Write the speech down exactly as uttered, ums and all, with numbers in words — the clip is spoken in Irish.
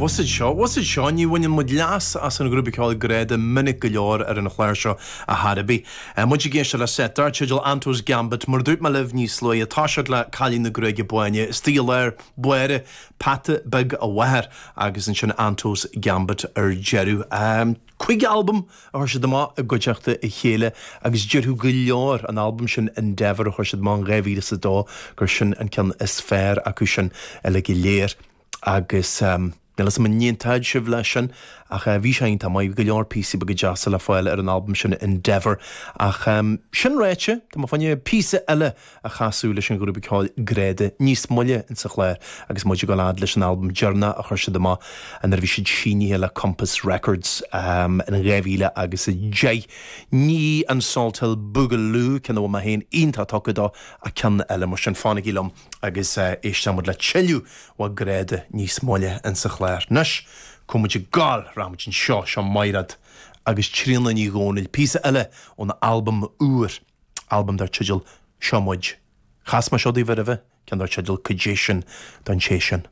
What's it seo? What's it seo? Ní bhaineann muid leas as an ghrúpa ceoil Greada minic go leor ar an chlár seo a Harabi. Muid ag éisteacht le seit dar teideal Anto's Gambit mar dúirt mé libh níos luaithe tá siad le Cailín na Gruaige Báine, Stíl Báire Peata Beag a Mháthair agus ansin Anto's Gambit ar deireadh. Um, Cúig albam a chuir siad amach i gcuideachta a chéile agus déarfadh go leor an albam sin Endeavour a chuir siad amach dhá mhíle is a dó gur sin an ceann is fearr acu sin uile go léir agus um, Níl a fhios agam an n-aontóidh sibh leis sin ach uh, bhí sé iontach maith go leor píosaí beaga deasa le fáil ar an albam sin Endeavour ach um, sin ráite Tá má fanne píosa eile a chasadh leis an ghrúpa ceoil Greada níos moille in sa chlár agus muid ag gabháil leis an albam deireanach a chuir siad amach an bhí siad sínithe le Compass Records um, in dhá mhíle agus a deich. Ní an Salthill Boogaloo ceann mé féin iontach tógtha dó ach ceann eile mar sin fanaigí liom agus uh, éistemuid le tuilleadh ó Greada níos moille in sa chlár. Anois muid ag gabháil ramuid an seo seo Mairéad agus Tríona Ní Dhomhnaill píosa eile ón albam úr albam dar teideal Seo Muid. Chas mé seo daoibh roimhe ceann dar teideal Cuid sin don sé sin.